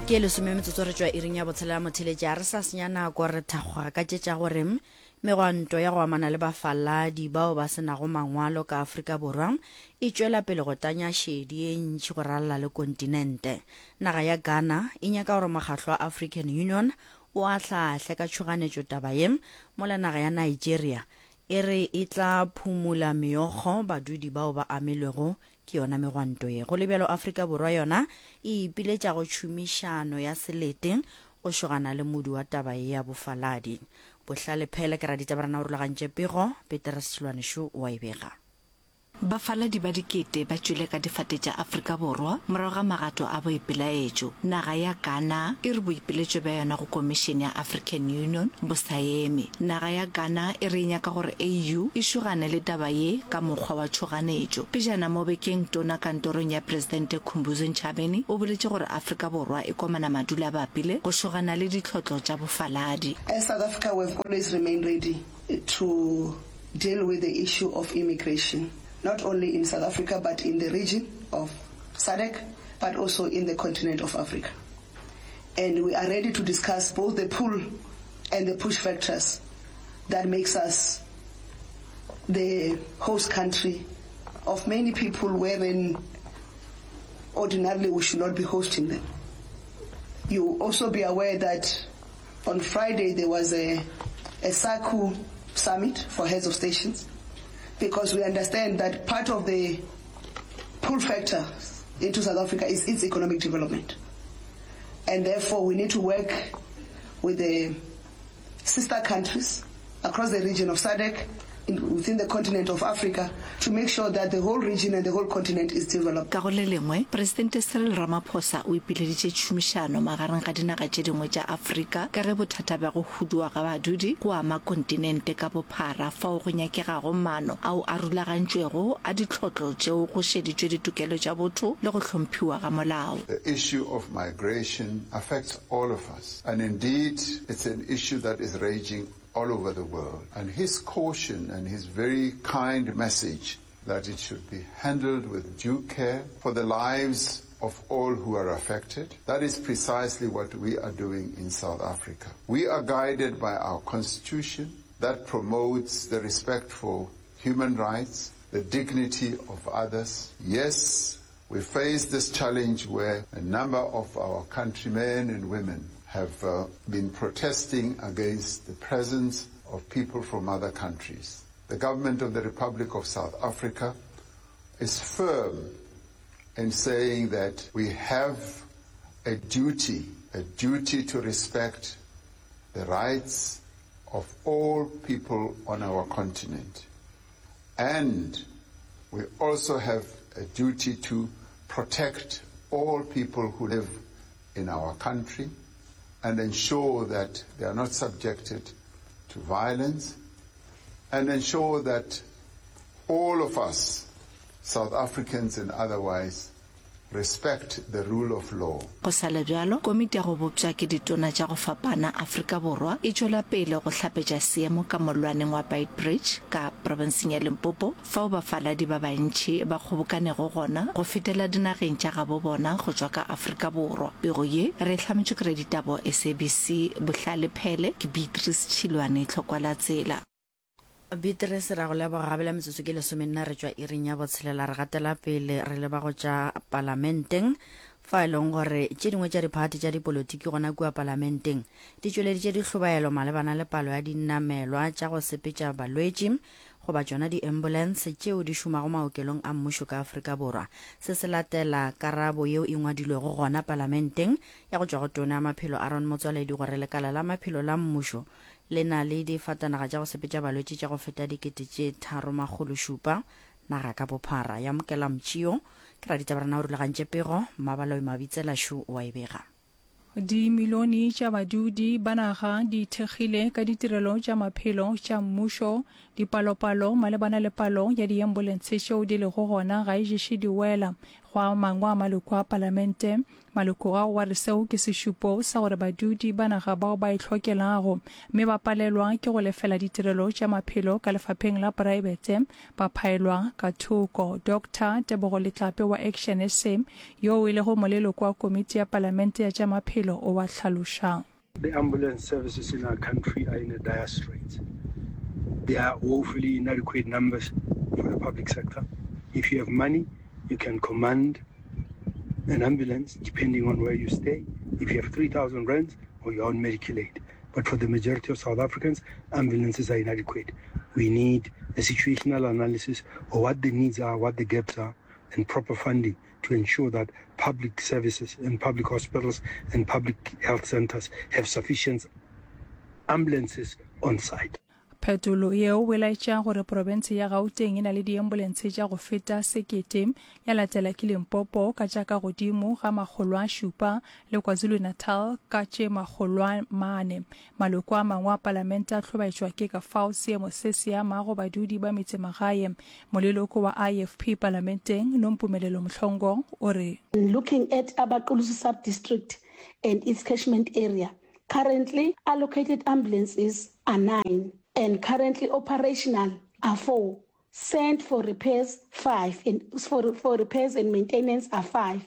Ke lesome metsotso re tšwa iring ya botshelela motheletši a re sa senya nako re thakgoga ka tše tša gore megwanto ya go amana le bafaladi bao ba se nago mangwalo ka Afrika Borwa e tšwela pele go tanya šedi ye ntši go ralala le kontinente. Naga ya Ghana e nyaka gore mokgahlo wa African Union o ahlaahle ka tšhoganetšo taba ye, mola naga ya Nigeria e re e tla phumula meokgo badudi bao ba amilwego ke yona megwanto ye. Go le bjalo, Afrika Borwa yona e ipiletša go tšhomišano ya selete go šogana le modu wa taba ye ya bofaladi. Bohlale Phele ke raditabarena o rulagantše pego, Petrus Tšhilwane šo o a e bega. Bafaladi ba dikete ba tšwele ka difate tša Afrika Borwa morago ga magato a boipelaetšo. Naga ya Ghana e re boipiletšo bja yona go Komišene ya African Union bo sa eme. Naga ya Ghana e re e nyaka gore AU e šogane le taba ye ka mokgwa wa tšhoganetšo. Pejana mo bekeng Tona kantorong ya Presidente Khumbudzo Ntshavheni o boletše gore Afrika Borwa e komana madula-bapile go šogana le ditlhotlo tša bofaladi. As South Africa we have always remained ready to deal with the issue of immigration, not only in South Africa but in the region of SADC, but also in the continent of Africa. And we are ready to discuss both the pull and the push factors that makes us the host country of many people wherein ordinarily we should not be hosting them. You also be aware that on Friday there was a, a SACU summit for heads of stations because we understand that part of the pull factor into South Africa is its economic development. And therefore we need to work with the sister countries across the region of SADC, in, within the continent of Africa, to make sure that the whole region and the whole continent is developed. Ka go le lengwe, Presidente Cyril Ramaphosa o ipileditše tšhomišano magareng ga dinaga tše dingwe tša Afrika ka ge bothata bja go huduwa ga badudi go ama kontinente ka bophara fao go nyakegago maano ao a rulagantšwego a ditlhotlo tšeo go šeditšwe ditokelo tša botho le go hlomphiwa ga molao. The issue of migration affects all of us and indeed it's an issue that is raging all over the world and his caution and his very kind message that it should be handled with due care for the lives of all who are affected. That is precisely what we are doing in South Africa. We are guided by our constitution that promotes the respect for human rights, the dignity of others. Yes, we face this challenge where a number of our countrymen and women have uh, been protesting against the presence of people from other countries. The government of the Republic of South Africa is firm in saying that we have a duty, a duty to respect the rights of all people on our continent. And we also have a duty to protect all people who live in our country and ensure that they are not subjected to violence and ensure that all of us, South Africans and otherwise, respect the rule of law. Go sa le bjalo, komiti ya go bopša ke ditona tša go fapana Afrika Borwa e tšwela pele go hlapetša seemo ka mollwaneng wa Beitbridge ka profenseng ya Limpopo fao bafaladi ba bantši ba kgobokanego gona go fetela dinageng tša gabo bona go tšwa ka Afrika Borwa. Pego ye re e hlametšwe ke Raditabo SABC Bohlale Phele ke Beatrice Tšhilwane Tlhokwalatsela. Beatrice, ra go leboga gabela metsotso ke lesomenne re tšwa iring ya botshelela re gatela pele re leba go tša palamenteng fa e leng gore tše dingwe tša diphathi tša dipolotiki gona kua palamenteng di tšweleditše dihlobaelo malebana le palo ya dinamelwa tša go sepetša balwetši goba tšona di-ambulance tšeo di šomago maokelong a mmušo ka Afrika Borwa. Se se latela karabo yeo e ngwadilwego gona palamenteng ya go tšwa go Tona ya Maphelo Aaron Motsoaledi gore lekala la maphelo la mmušo Le na le difatanaga tša go sepetša balwetši tša go feta 3700 naga ka bophara. Yamukela Mtšio ke raditabarena o rulagantše pego, Mmabaloi Mabitsela šo o a e bega. Dimilione tša badudi ba naga di ithekgile ka ditirelo tša maphelo tša mmušo. Dipalopalo malebana le palo ya diambulense tšeo di lego gona ga e ješe di wela. Go a mangwe a maloko a palamente, maloko ao a re seo ke sešupo sa gore badudi ba naga bao ba e hlokelago mme ba palelwa ke go lefela ditirelo tša maphelo ka lefapheng la poraebete ba phaelwa ka thoko. Doctor Tebogo Letlape wa Action SA, yoo e lego moleloko wa komiti ya palamente ya tša maphelo o a hlaloša. The ambulance services in our country are in a dire straits. There are woefully inadequate numbers for the public sector. If you have money, you can command an ambulance depending on where you stay. If you have 3,000 rands or you're on medical aid. But for the majority of South Africans, ambulances are inadequate. We need a situational analysis of what the needs are, what the gaps are, and proper funding to ensure that public services and public hospitals and public health centers have sufficient ambulances on site. Phetolo yeo e laetša gore profense ya Gauteng e na le diambulense tša go feta sekete, ya latela ke Limpopo ka tša ka godimo ga 700 le KwaZulu-Natal ka tše 400. Maloko a mangwe a palamente a hlobaetšwa ke ka fao seemo se se amago badudi ba metsemagae. Moleloko wa IFP palamenteng, Nompumelelo Mhlongo, o re. Looking at Abaqulusi Sub-District and its catchment area, currently allocated ambulances are 9 and currently operational are 4, sent for repairs 5 and for, for repairs and maintenance are 5,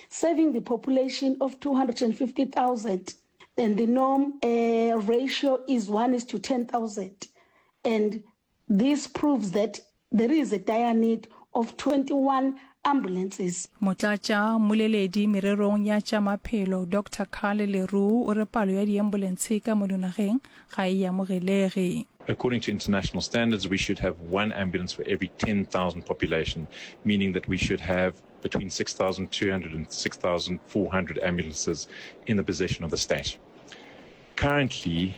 serving the population of 250,000 and the norm uh, ratio is 1 is to 10,000 and this proves that there is a dire need of 21 ambulances. Motlatša mmoleledi mererong ya tša maphelo Doctor Carl Le Roux o re palo ya diambulentshe ka mono nageng ga e amogelege. According to international standards, we should have one ambulance for every 10,000 population, meaning that we should have between 6,200 and 6,400 ambulances in the possession of the state. Currently,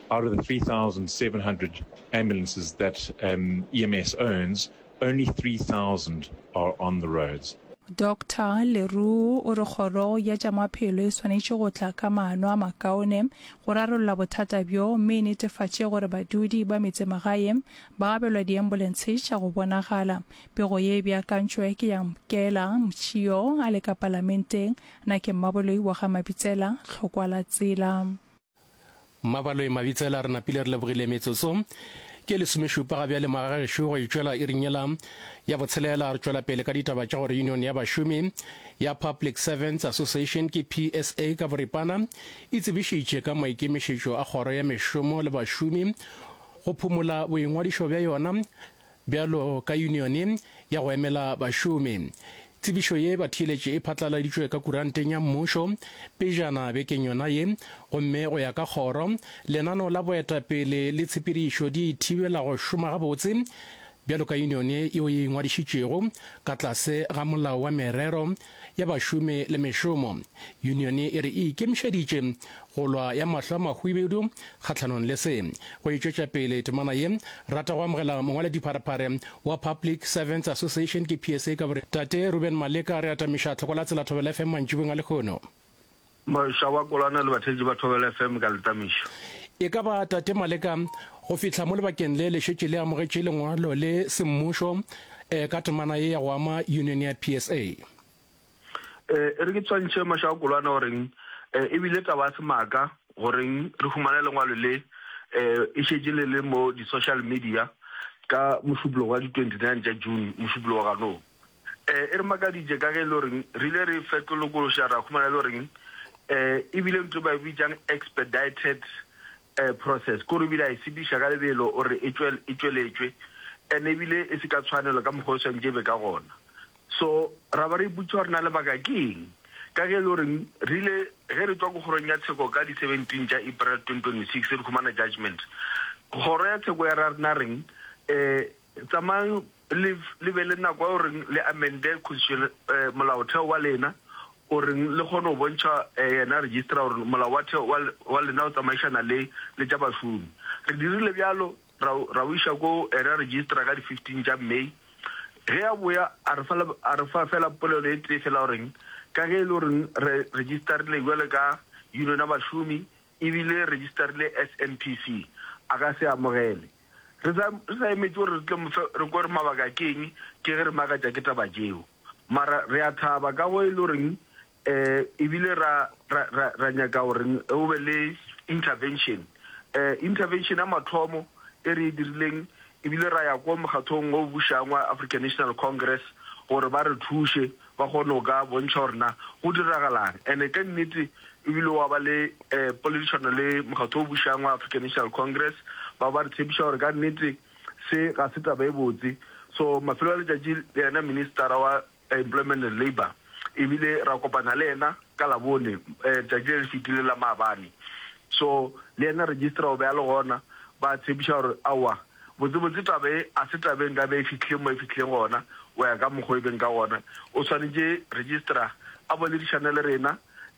out of the 3,700 ambulances that um, EMS owns, only 3,000 are on the roads. Doctor Le Roux o re kgoro ya tša maphelo e swanetše go tla ka maano a makaone go rarolla bothata bjo mme e netefatše gore badudi ba metsemagae ba abelwa diambulentshe tša go bonagala. Pego ye e beakantšwe ke ya Mkela Mtshio a le ka palamenteng. Na ke Mmaboloi wa ga Mabitsela, Tlhokwa la tsela. Mmabaloi Mabitsela, Re napile re lebogile metsotso ke lesomešupa ga bjale magagešo go itšwela iring yela ya botshelela. Re tšwela pele ka ditaba tša gore Union ya bašomi ya Public Servants Association ke PSA ka boripana e tsebišitše ka maikemišetšo a kgoro ya mešomo le bašomi go phumola boingwadišo bja yona Bjalo ka yunione ya go emela bašomi. Tsebišo ye batheeletši e phatlaladitšwe ka kuranteng ya mmušo pejana bekeng yona ye, gomme go ya ka kgoro, lenaneo la boetapele le tshepedišo di e thibela go šoma gabotse bjalo ka yunione yeo e ingwadišitšego ka tlase ga Molao wa Merero ya Bašomi le Mešomo. Yunione e re e ikemišeditše go lwa ya mahlo a mahwibidu kgahlanong le se. Go e tšwetša pele temana ye, rata go amogela mongwaledipharephare wa Public Servants Association ke PSA ka bore Tate Reuben Maleka re atamiša tlhoko la tsela Thobela FM mantšibong a lehono. Moša wa Kolwana le batheetši ba Thobela FM ka letamišo. E ka ba Tate Maleka go fihla mo lebakeng le le šetše le amogetše lengwalo le semmušo ka temana ye ya go ama union ya PSA? E re ke tshwantšhe Moša wa Kolwana goreng e bile taba ya semaka goreng re humane lengwalo le e šetše le le mo di-social media ka Mošupologo wa di 29 tša June, Mošupologo ganong. E re makaditše ka ge e le goreng re ile re fetolokološa ra humana e le goreng e bile ntho e ba e bitsang expedited process, ke gore ebile a e sepediša ka lebelo gore e tšweletšwe and ebile e se ka tshwanelo ka mokgwa o swanetše e be ka gona. So ra ba re ipotšiša gore na lebaka ke eng ka ge e le goreng re ile ge re tšwa ko kgorong ya tsheko ka di 17 tša April 2026 re humana judgement, kgoro ya tsheko ya ra rena reng um tsamayang le le be le nako ya goreng le amende constitution molaotheo wa lena goreng le kgone go bontšha yena registrar gore molao wa theo wa lena o tsamaišana le le tša bašomi. Re dirile bjalo ra ra o iša ko ena registrar ka di 15 tša May. Ge a boya a re fa a re fa fela polelo e tee fela goreng ka ge e le goreng re registerile bjalo ka union ya bašomi ebile registerile as NPC a ka se amogele. Re sa, re sa emetše gore re tle mo fe, re kwe gore mabaka ke eng, ke ge re makatša ke taba tšeo. Mara re a thaba ka go e le goreng um ebile ra, ra, ra, ra nyaka gore go be le intervention. Um intervention ya mathomo e re e dirileng ebile ra ya ko mokgathong o bušang wa African National Congress gore ba re thuše ba kgone go ka bontšha gore na go diragalang. And-e ka nnete ebile wa ba le um poledišano le mokgatho o bušang wa African National Congress, ba ba re tshepiša gore ka nnete Se ga se taba e botse. So mafelo a letšatši le yena ministara wa Employment and Labour ebile ra kopana le yena ka Labone letšatši le le fetileng la maabane. So le yena registrar o be a le gona, ba tshepiša gore aowa botsebotse taba e a se taba e nkabe e fihlile mo e fihlileng gona go ya ka mokgwa e beng ka gona. O swanetše registrar a boledišane le rena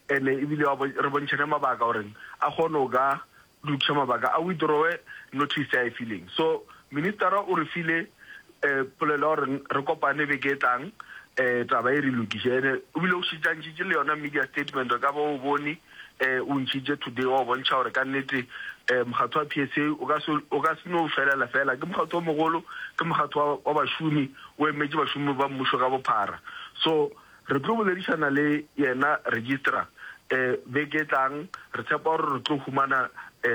ene ebile re bontšhane mabaka gore a kgone go ka lokiša mabaka a withdrawe notice a e fileng. So ministera o re file polelo ya gore re kopane beke e tlang taba e re lokiše. Ene o bile o šetše a ntšhitše le yona media statement o ka ba o bone o ntšhitše today wa bontšha gore ka nnete mokgatlo wa PSA o ka se o ka se no felela fela. Ke mokgatlo o mogolo, ke mokgatlo wa bašomi, o emetše bašomi ba mmušo ka bophara. So Re tlo boledišana le yena registrar beke e tlang. Re tshepa gore re tlo humana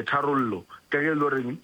tharollo ka ge e le goreng.